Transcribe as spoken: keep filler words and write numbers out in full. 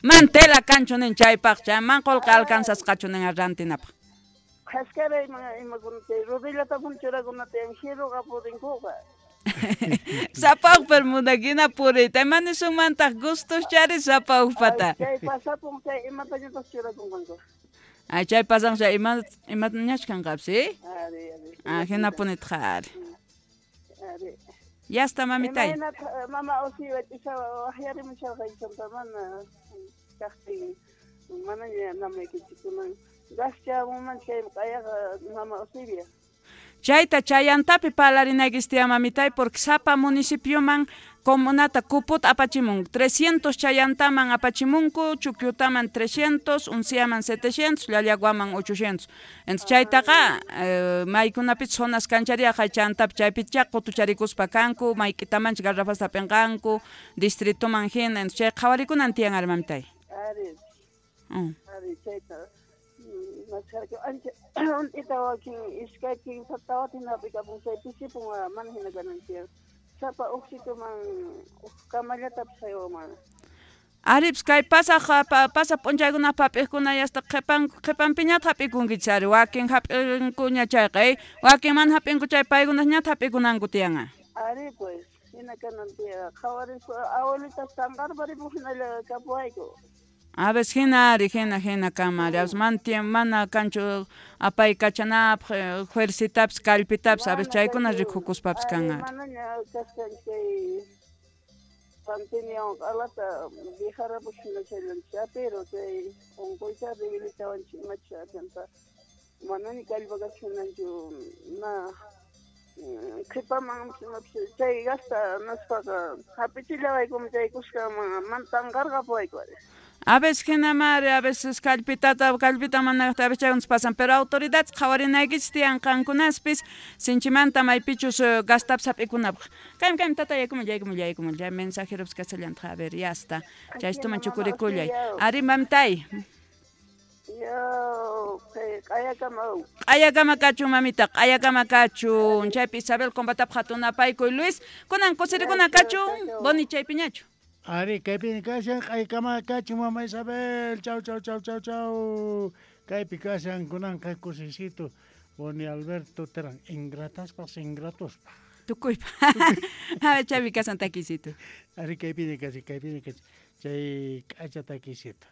Man tela kanchu nin chaypaq, chay man qolqe alcanzasqachu nin rantinapaq. Qhasqara ima imakunata rodillatapun churakunata jiruqa purinkuqa. Sapa ujpa munakina puriyta, ima nisunmantaq gustos chari sapa ujpata. Chay pasapun chay imatañataq churakunqanku. Ay, chay pasan chay ima imatañach kanqapis, eh? Ari, ari. Ah, hinapunitaq ari. Ari. Ya está, mamitay. Imaynataq mama Osiwa ch'isa waqyarimusharqaychanta mana kaqtin manaña namaykichikkunan gaschamunman chay q'ayaqa mama Osibia. Chayta chayantapi parlarinaykichis tiyan mamitay, porque sapa municipioman comunata cuput apachimun trescientos chayantaman apachimunku, Chuquiutaman trescientos, Unciaman setecientos, Llallaguaman ochocientos. Entonces chaytaqa eh, maykunapis zonas kanchariaqa chantapi chaypicha qutucharikuspa kanku, mayk'itamanchik garrafasta hap'inqanku, distritoman hina, entonces chay qhawarikunan tiyan ari mamitay. Ari, Mm. ari chayta maskarku ancha unt'ita wakin iskay kimsa tawatin hap'ikapun chay pisipun mana hina kanan tiyan. Sapa uj sitioman uj kamallatapis haywaman. Aripis kay pasaq pa, pasaq p'unchaykunaq hap'iqkuna yasta qhipan qhipanpiñataq hap'ikunkichis ari, wakin hap'inkuña chayqa, eh, wakin mana hap'inku chay paykunasñataq hap'ikunanku tiyanqa. Ari pues, hina kanan tiyan qhawarispa abuelitas tanqarparipuq hinalla kapuwayku. A veces hina ari, hina hina kama ari, a veces mana tiempo, mana kanchu apaykachanapaq, fuercitapis kallpitapis, a veces chaykuna rikukuspapis kan ari. Manaña kasqan chay pandemia q'alata viajarapus hina chayllanchik pero chay unquycha debilitawanchik imacha chanta manaña kallpa kachunanchu na qhipaman chay gasta naspaqa hap'ichillawaykum chay kuskaman mana tanqarqapuwayku ari. A veces hina ari, a veces kallpitata, kallpita mana a veces chaykunas pasan, pero autoridades qhawarinaykichis tiyan qankunaspis sinchimanta maypichus gastapis hap'ikunapaq. Kaymi kaymi tata yaykumuy yaykumuy yaykumuy, chay mensajeropis kasallantaq, a ver, ya está. Chaystuman chukurikullay. Ari mamitay. Yo, q'ayakama. Q'ayakama kachun mamita, q'ayakama kachun. Chaypi Isabel Combatapaq hatun apaykuy Luis, kunan kusirikuna kachun, boni chaypiñachu. Ari, kaypi kashan, q'aykama kachun mama Isabel, chau chau chau chau chau. Kaypi kashan kunanqa kusisito Boni Alberto Terán, ingrataspaq ingratospaq. Tukuypa. A ver, chaypi kashan takisito. Ari, kaypi kashan, kaypi kashan, chay k'acha takisito.